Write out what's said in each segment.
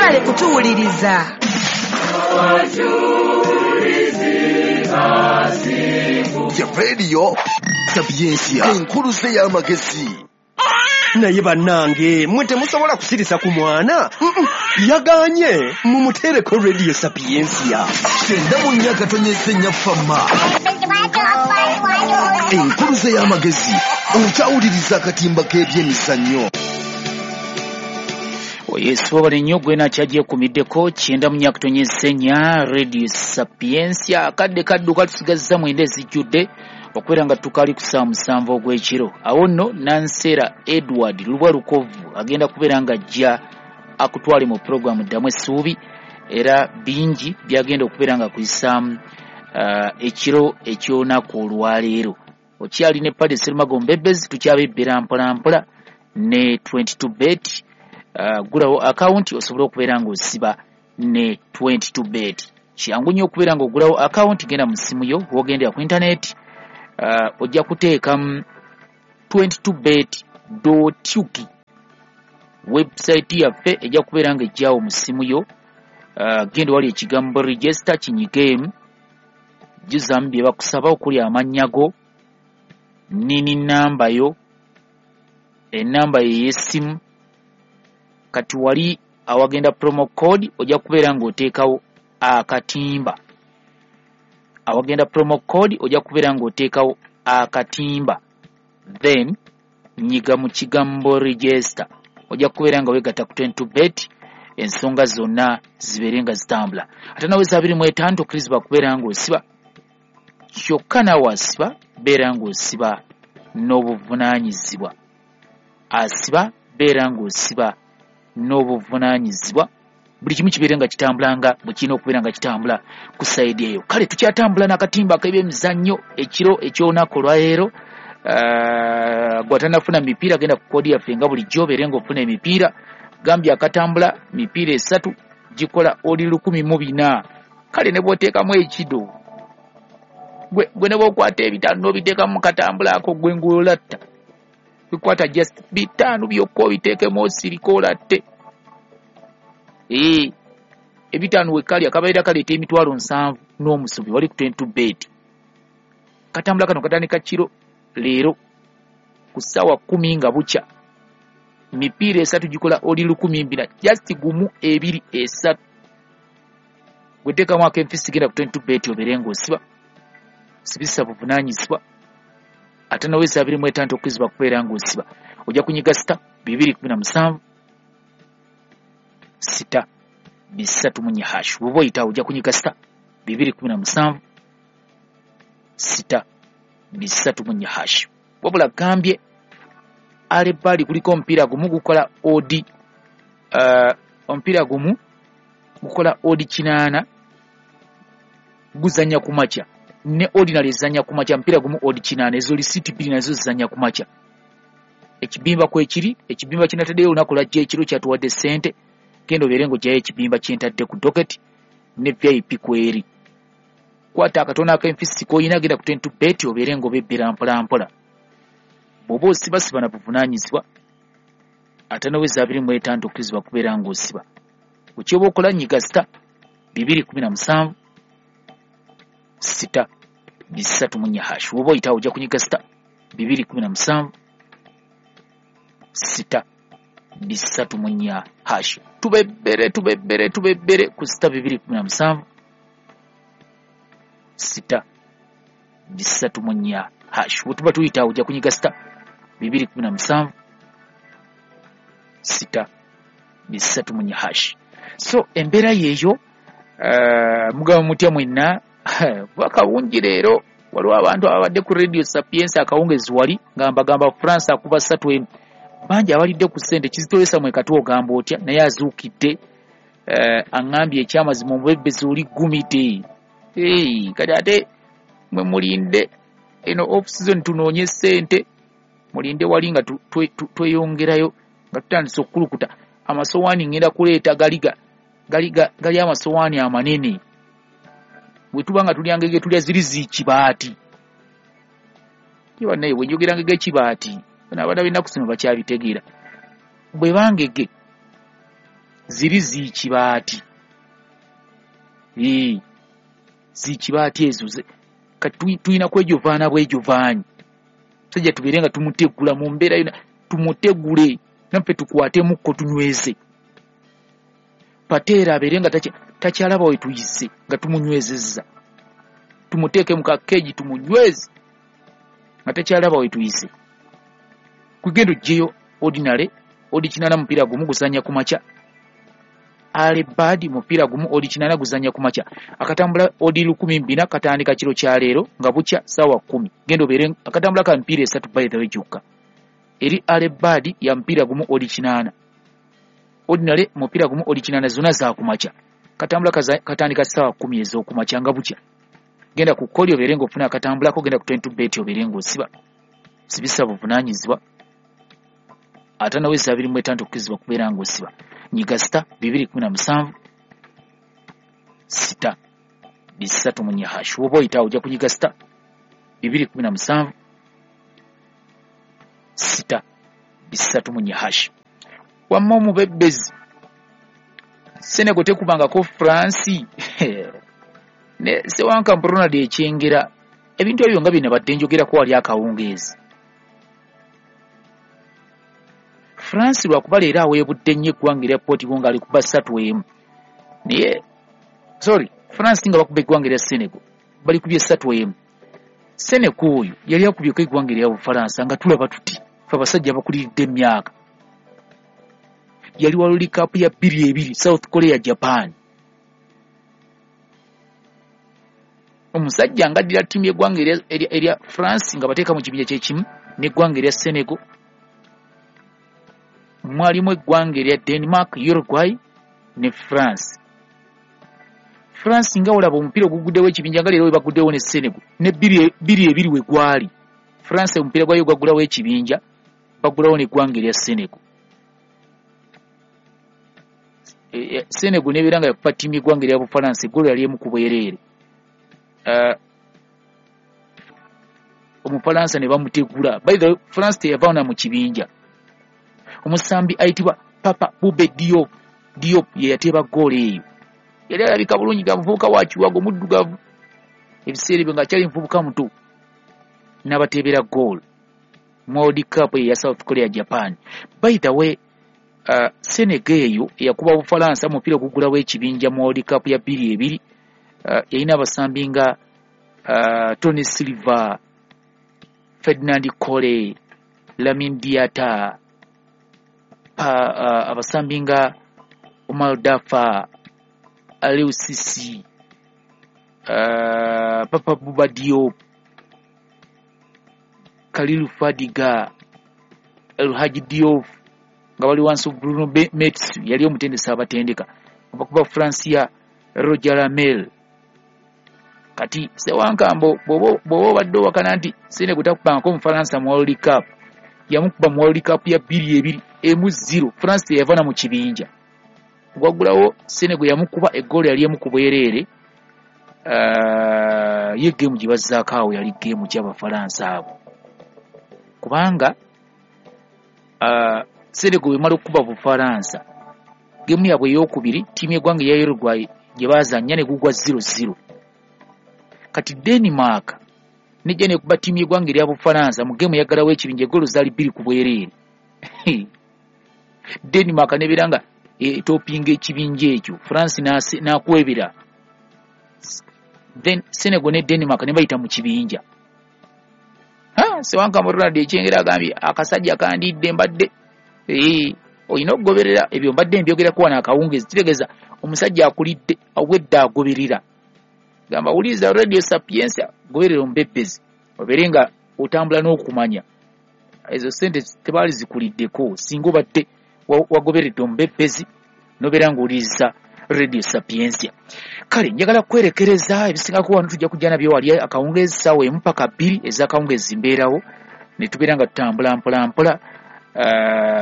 Mwebale kutuwuliriza. Ya Radio Sapientia, enkuluze y'amagezi. Naye bannange mwe temusobola kusirisa ku mwana. Yaganye mumuteereko Radio Sapientia. 94.4 Fama. Enkuluze y'amagezi, okyawuliriza akatimba k'ebyemizannyo. Yesu wabale nnyo gwe nakyagyeekumiddeko 94.4 Radio Sapientia. Akadde kadduka tusigazza 9 ezijjudde okubeera nga tukali ku ssaawa 7 ogw'ekiro. Awo nno Nansera Edward Lubwa Lukovu agenda kubeera nga ajja akutwale mu pulogulaamu Ddamu Essuubi, era bingi byagenda okubeera nga kuyisaamu ekiro eky'olunaku olwaleero. Okyali ne Paddy Serumago Mbebezi, tukyabebbera mpola mpola ne 22 bet. Gulawo akawunti osobola okubeera ng'osiba ne 22 bet. Kyangu nnyo okubeera ng'ogulawo akawunti, genda mu ssimu yo w'ogendera ku intaneti, ojja kuteekamu 22bet.ug. Website yaffe ejja kubeera ng'ejjawo mu ssimu yo. Genda wali ekigambo register kinyigeemu, jjuzaamu bye bakusaba okuli amannya go, nini namba yo, ennamba yo ey'essimu. Kati wali awagenda promo code ojja kubeera ng'oteekawo akatimba. Awagenda promo code ojja kubeera ng'oteekawo akatimba, then nyiga mu kigambo register, ojja kubeera nga weegatta ku 22 bet, ensonga zonna zibeere nga zitambula. Ate nawe 25 tokkirizibwa kubeera ng'osiba, kyokka naawe asiba beera ng'osiba n'obuvunaanyizibwa. Asiba beera ng'osiba n'obuvunaanyizibwa, buli kimu kibeere nga kitambula nga bwe kirina okubeera nga kitambula ku sayidi eyo. Kale tukyatambula n'akatimba ak'ebyemizannyo ekiro eky'olunaku olwaleero. Gw'atannafuna mipiira genda ku koodi yaffe nga bulijjo obeere ng'ofuna emipiira. Gambye akatambula mipiira 3 gikola oli 1400. Kale ne bw'oteekamu ekido, gwe ne bw'okwata 5 n'obiteekamu mu katambula ako, gwe ng'olatta. Bikwata just 5 byokka obiteekemu osirike olatte. 5 wekali akabaira kaleeta 700,000 n'omusobi wali ku 22 bet. Katambula kano katandika kiro leero ku ssaawa 10 nga bukya. Mipiira 3 gikola oli 1400, just 1 2 3. Gweteekamu ak'enfisi genda ku 22 bet obeere ng'osiba, sibisa buvunaanyizibwa. Ate nawe 25 tokkirizibwa kubeera ng'osiba. Ojja kunyiga sita 217 6 3 hash. Bw'oba oyitawo ojja kunyiga sita 217 6 3 hash. Wabula gambye alebbali kuliko omupiira gumu gukola odi, omupiira gumu gukola odi 8 guzannya ku makya, ne ordinary ezannya ku makya, mupiira gumu odi 8, ezo lisiti 2 nazo zizannya ku makya. Ekibimba kwekiri, ekibimba kinataddeyo olunaku lwajja ekiro kyatuwadde ssente, genda obeere ng'oggyayo ekibimba kyentadde ku docket ne VIP kweri. Kwata akatono ak'enfisi k'olina, genda ku 22 bet obeere ng'obebbera mpola mpola. Bw'oba osiba siba na buvunaanyizibwa. Ate noweza 25 tokkirizibwa kubeera ng'osiba. Ekyoba okola nyiga sita 217 6 3 hash. Bw'oba oyitawo ojja kunyiga sita 217 6 3 hash. Tubebbere tubebbere tubebbere ku sita 217 6 3 hash. Bwe tuba tuyitawo ojja kunyiga sita 217 6 3 hash. So embeera yeeyo. Mugaba mutya mwenna? Akawungi leero waliwo abantu ababadde ku Radio Sapientia akawungezi wali nga mbagamba France akuba 3 bangi abalidde ku ssente. Kizitolesa mwe kati ogamba otya? Naye azuukidde, aŋŋambye ekyamazima omubebezi oli gumite. Kati ate mwe mulinde eno off season tunoonye ssente, mulinde wali nga tweyongerayo nga tutandise okukulukuta amasowaani. Ngenda kuleeta gali amasowaani amanene. Bwe tuba nga tulya ngege tulya ziri zikibaati. Naye bwe njogera ngege kibaati, bano abaana b'ennaku zino bakyabitegeera. Bwe bangege Ziri zikibaati. Zikibaati ezo kati tulina kwejovaana bwejovaanyi. Musajja tubeere nga tumutegula mu mbeera yonna, tumutegule naffe tukwatemukko tunyweze. Pateera abeere nga takyalaba we tuyise nga tumunywezezza. Tumuteeke mu kakeegi tumunyweze nga takyalaba we tuyise. Kugenda oggyeyo ordinary odi 8 mupiira gumu guzannya ku makya. Alebad mupiira gumu odi 8 guzannya ku makya. Akatambula odi 1400 katandika kiro kya leero nga bukya ssaawa 10. Genda obeere akatambula ka mipiira 3 by the way gyokka. Eri Alebad ya mupiira gumu odi 8. Ordinary mupiira gumu odi 8 zonna za ku makya. Katambula katandika ssaawa 10 ez'okumakya nga bukya. Genda ku koli obeere ng'ofuna akatambulako, genda ku 22 bet obeere ng'osiba. Sibisa buvunaanyizibwa. 5 25 okukizibwa kubeera ng'osiba. Nyiga sita 217 6 3 hash. Woba oyitawo ojja kunyiga sita 217 6 3 hash. Wamma omubebbezi Senegal tekubangako France ne Sewanka Ronald Ekyengera. Ebintu ebyo nga bino badde njogerako wali akawungeezi. France lwakuba leero aweebudde nnyo eggwanga erya Portugal ng'ali kuba 3-1. Naye sorry, France nga bakuba eggwanga erya Senegal bali kubye 3-1. Senegal oyo yali akubyeko eggwanga erya Bufalansa nga tulaba tuti ffe abasajja abakuliridde emyaka. Yali wa World Cup ya 2002 South Korea Japan. Omusajja ng'addira ttiimu y'eggwanga erya France nga bateeka mu kibinja kyekimu n'eggwanga erya Senegal. Mwalimu eggwanga erya Denmark, Uruguay ne France. France nga olaba omupiira oguguddewo ekibinja nga leero we baguddewo ne Senegal ne 2-2 we gwali. France omupiira gwayo gwaggulawo ekibinja, baggulawo n'eggwanga erya Senegal. Senegal n'ebeera nga yakuba ttiimu y'eggwanga erya Bufalansa eggolo yali emu ku bwereere. Omufalansa ne bamutegula. By the way, France teyavaawo na mu kibinja. Omusambi ayitibwa Papa Bube Diop ye yateeba ggoolo eyo. Yali alabika bulungi nga muvubuka wa kiwago muddugavu. Ebiseera ebyo ng'akyali muvubuka muto. N'abateebera ggoolo mu World Cup eya South Korea Japan. By the way, Senegal eyo eyakuba Bufalansa omupiira oguggulawo ekibinja mu World Cup ya 2002 yalina abasambi nga Tony Silva, Ferdinand Kole, Lamin Diatta, abasambi nga Omar Dafa, Aliou Cissé, Papa Bouba Diop, Khalilou Fadiga, El Hadji Diouf nga bali wansi Bruno Metsu yali omutendesi abatendeka. Bakuba Francia Roger Lamel. Kati Sewankambo bw'oba obadde owakana nti Senegal takubangako Omufalansa mu World Cup, yamukuba mu World Cup ya 2002 1-0. France teyava na mu kibinja. Gwaggulawo Senegal yamukuba eggoolo yali emu ku bwereere. Ye geemu gye bazzaako awo yali geemu ky'Abafalansa abo. Kubanga Senegal bw'emala okukuba Bufalansa, geemu yaabwe ey'okubiri ttiimu y'eggwanga eya Uruguay gye baazannya ne gugwa 0-0. Kati Denmark nejja nekuba ttiimu y'eggwanga erya Bufalansa mu geemu yaggalawo ekibinja eggoolo zaali 2 ku bwereere. Denmark nebeera nga etopinga ekibinja ekyo, France n'akwebera. Then Senegal ne Denmark ne bayita mu kibinja. Sewanka Ronald Ekyengera agambye akasajja kandidde mbadde olina okugoberera ebyo mbadde mbyogerako wano akawungeezi. Kitegeeza omusajja akulidde awedde agoberera. Gamba wuliriza Radio Sapientia, goberera omubebbezi obeere nga otambula n'okumanya. Ezo ssente tebaali zikuliddeko singa obadde wagoberedde omubebbezi n'obeera ng'owuliriza Radio Sapientia. Kale njagala kwerekereza ebisingako wano tujja kujja nabyo wali akawungeezi ssaawa 1 mpaka 2 ez'akawungeezi mbeerawo ne tubeera nga tutambula mpola mpola.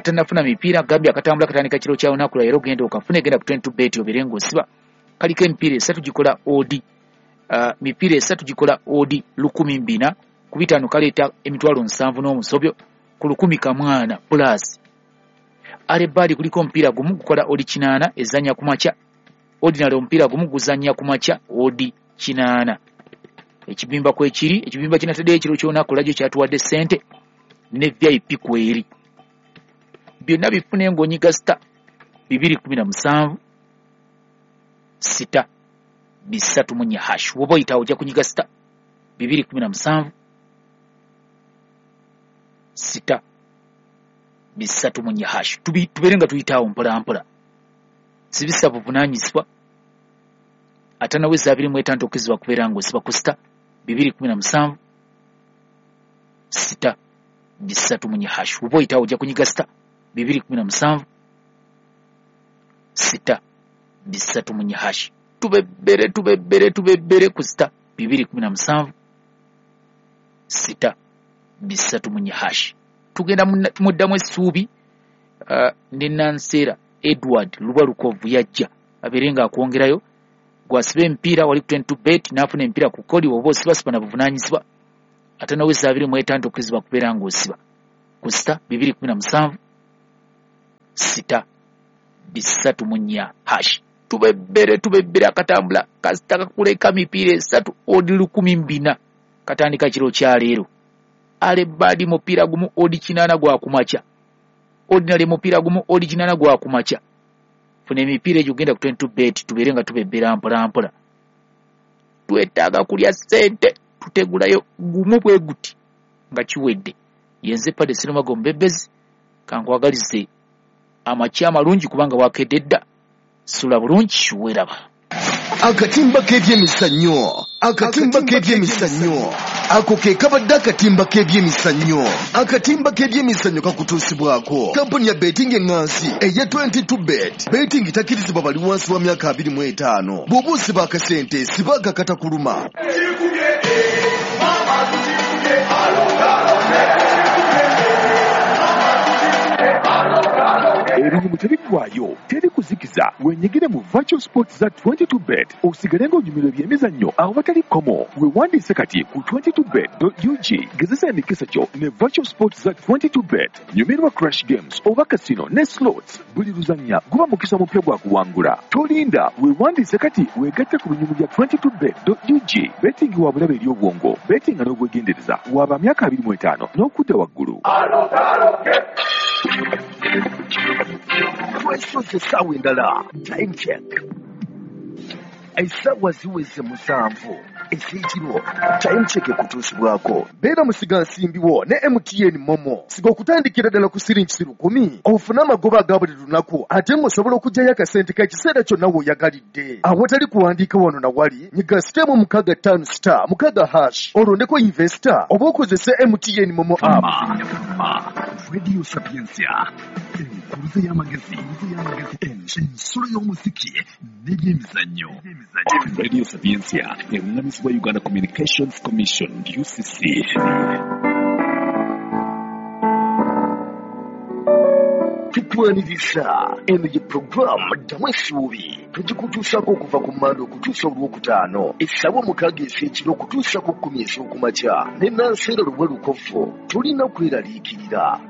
Tannafuna mipiira gambye akatambula katandika kiro kya lunaku lwa leero, genda okafune, genda ku 22 bet obeere ng'osiba. Kaliko emipiira 3 gikola odi. Mipiira 3 gikola odi 1400 ku 5 kaleeta emitwalo 70 n'omusobyo ku 10 kamwana plus. Early Bird kuliko omupiira gumu gukola odd 8 ezannya ku makya. Ordinary omupiira gumu guzannya ku makya odd 8. Ekibimba kwekiri, ekibimba kinataddeyo ekiro ky'olunaku lwajjo kyatuwadde ssente ne VIP kweri. Byonna bifune ng'onyiga star 217 6 3 hash. Woba oyitawo ojja kunyiga star 217 6 3 hash. Tubeere nga tuyitaawo mpola mpola. Sibisa buvunaanyizibwa ate naweza 25 okizibwa kubeera ng'osiba ku star 217 6 3 hash. Woba oyitawo ojja kunyiga star 217 6 3 hash. Tubebbere tubebbere tubebbere ku star 217 6 3 hash. Tugenda muddamu essuubi ne Nansera Edward Lubalukovu yajja abeere ng'akwongerayo gwasiba emipiira wali ku 22 bet n'afuna emipiira ku kodi oba osiba siba na buvunaanyizibwa ate naweza 25 okizibwa kubeera ng'osiba ku star 217 6 3 hash. Tubebbere tubebbere akatambula kasita kakuleka mipiira esatu odd 14 katandika kiro kya leero. Early Bird mupiira gumu odd 8 gwa kumakya. Ordinary mupiira gumu odd 8 gwa kumakya. Funa emipiira egyo genda ku 22 bet tubeere nga tubebbera mpola mpola. Twetaaga kulya ssente tutegulayo gumu bwe guti nga kiwedde. Yenze Padde Serumago Omubebbezi kankwagalize amakya amalungi kubanga wakedde dda. Sula bulungi weeraba. Akatimba k'ebyemizannyo, akatimba k'ebyemizannyo, ako ke kabadde akatimba k'ebyemizannyo. Akatimba k'ebyemizannyo kakutuusibwako kampuni ya betting eŋŋansi eya 22 bet. Betting takkirizibwa bali wansi wa myaka 25. Bw'oba osiba akasente siba akakatakuluma. Ebinyumu tebiggwayo, teri kuzikiza. Wenyigire mu virtual sports za 22 bet osigale ng'onyumirwa ebyemizannyo awatali kkomo. Weewandiise kati ku 22bet.ug. Gezesa emikisa gyo ne virtual sports za 22 bet. Nyumirwa crash games oba casino ne slots. Buli luzannya guba mukisa mupya gwa kuwangula. Tolinda, weewandiise kati weegatte ku binyumu bya 22bet.ug. Betting wa bulabe eri obwongo, bettinga n'obwegendereza. Waba myaka 25 n'okudda waggulu. Twesoze essaawa endala. Time check. Essaawa ziweze 7 ez'ekiro. Time check ekutuusibwako. Beera musigansimbiwo ne MTN Momo. Siga okutandikira ddala ku siringi 10,000 ofune amagoba aga buli lunaku ate ng'osobola okuggyayo akasente k'ekiseera kyonna w'oyagalidde. Awatali kuwandiika wano na wali, nyiga star 65 star 6 hash olondeko investor oba okozese MTN Momo app. Radio Sapientia, enkuruze y'amagezi, ensulo y'omuziki n'ebyemizannyo. Radio Sapientia erungamizibwa Uganda Communications Commission UCC. Tukwaniriza eno ye puroguramu Ddamu Essuubi tugikutuusaako okuva ku Mmande okutuusa Olwokutaano essaawa 6 ez'ekiro okutuusa ku 10 ez'okumakya ne Nansera Lubalukovu. Tolina kweraliikirira.